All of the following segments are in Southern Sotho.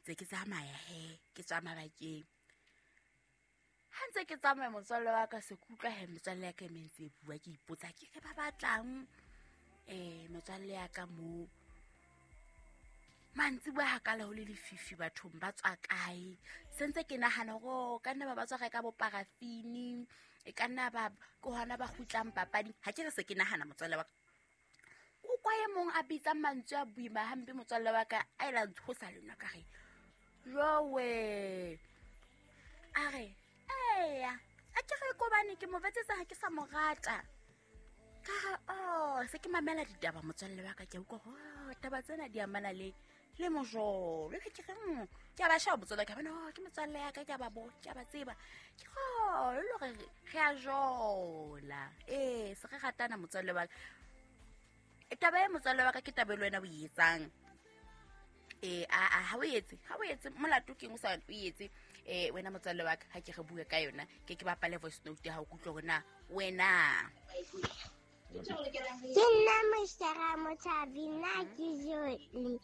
Tse ke tsamaya he, ke tswa mabakeng. Ha ntse ke tsamaya motswalle wa ka, se ke utlwa he metswalle ya ka e mentse e bua, ke ipotsa ke re ba batlang metswalle ya ka moo. Mantsiboya ha kala ho le lefifi bathong ba tswa kae? Se ntse ke nahana hore o ka nna ba ba tswa reka bo parafini, e ka nna ba ke hona ba kgutlang papading. Ha ke re se ke nahana motswalle wa ka. O kwa e mong a bitsang mantswe a boima hampe motswalle wa ka, a ela ntshosa le nna ka re jowe. A re eya, a ke re kobane ke mo betsetsa ha ke sa mo rata. Ka re oh, se ke mamela ditaba motswalle wa ka, ke a utlwa hore oh, taba tsena di amana le mojolo. Ke ke re ke a ba sheba motswalle, ka bona oh, ke motswalle ya ka, ke a ba bo, ke a ba tseba. Ke re oh, le hore re a jola. Ee, se re ratana motswalle wa ka. Taba e motswalle wa ka ke taba e le wena o e etsang. A ha o etse, ha o etse molato keng o sa o etse? Wena motswalle wa ka, ha ke re bue ka yona, ke ke bapale voice note ya hao, ke utlwe hore na wena. Ke nna Moshara Motshabi, nna ke Joli.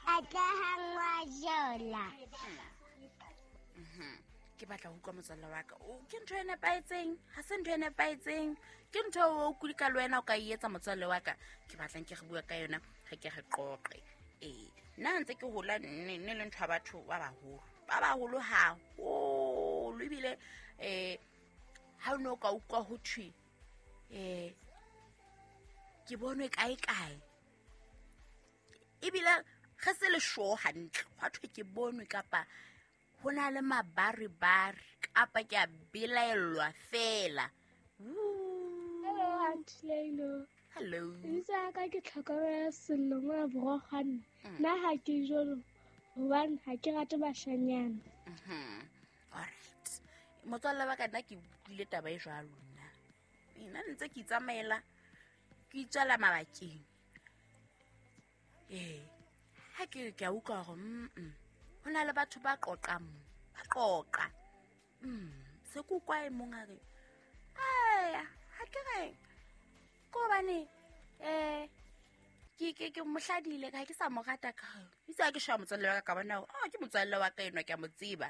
Atlehang wa jola. Ke batla ho utlwa motswalle wa ka. O, ke ntho e nepahetseng, ha se ntho e nepahetseng. Ke ntho eo o kulika le wena o ka e etsa motswalle wa ka. Ke batlang ke re bua ka yona, re ke re qoqe. Nna ntse ke hola ne le ntho ya batho ba baholo. Ba baholo haholo ebile ha o ne o ka utlwa ho thwe ke bonwe kae kae. Ebile re se le sure hantle, hwa thwe ke bonwe kapa ho na le mabaribari kapa ke a belaellwa fela. Hello, Aunty Leilo. Hello. Lebitso la ka ke Tlhokomelo Sello mona Borokgwane. Nna ha ke jolo hobane ha ke rate bashanyana. All right. Motswalle wa ka nna ke utlwile taba e jwalo nna. Nna ntse ke itsamaela, ke itswela mabakeng. Ha ke ke a utlwa hore ho na le batho ba qoqang mo, ba qoqa. Se ke utlwa e mong a re, eya, ha ke re, ke hobane, ke mohladile, ha ke sa mo rata ka re. Itse ha ke sheba motswalle wa ka, ka bona hore, oh, ke motswalle wa ka enwa, ke a mo tseba.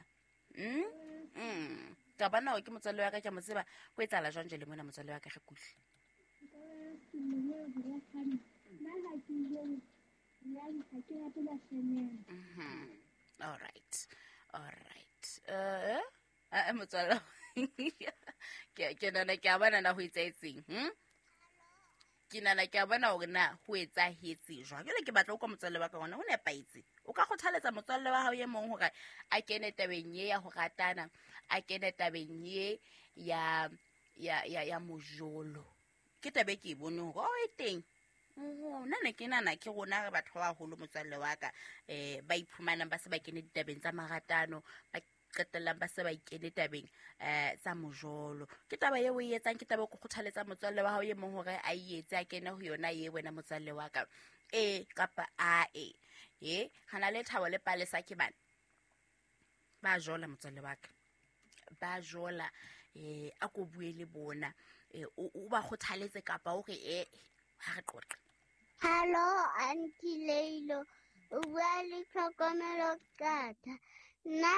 Ka bona hore ke motswalle wa ka, ke a mo tseba. Ho etsahala jwang jwale mona motswalle wa ka, re kuhle? All right. All right. Motswalle. Ke nahana ke a bona na ho etsahetseng, Ke nahana ke a bona hore na ho etsahetse jwang. Jwale ke batla ho utlwa motswalle wa ka hore na ho nepahetse. O ka kgothaletsa motswalle wa hao e mong hore a kene tabeng ye ya ho ratana, a kene tabeng ye ya mojolo. Ke taba e ke e boneng hore, oh, e teng. Oho, nna ne ke nahana ke rona re batho ba baholo motswalle wa ka, ba iphumanang ba se ba kene ditabeng tsa maratano, ba qetellang ba se ba ikene tabeng tsa mojolo. Ke taba eo o e etsang, ke taba e ke kgothaletsa motswalle wa hao e mong hore a e etse, a kene ho yona e wena motswalle wa ka. E kapa a e. E, re na le Thabo le Palesa ke bana. Ba jola motswalle wa ka. Ba jola, a ko bue le bona. O ba kgothaletse kapa o re, ha re qoqe. Hello, Aunty Leilo. O bua le Tlhokomelo Qatha. Nna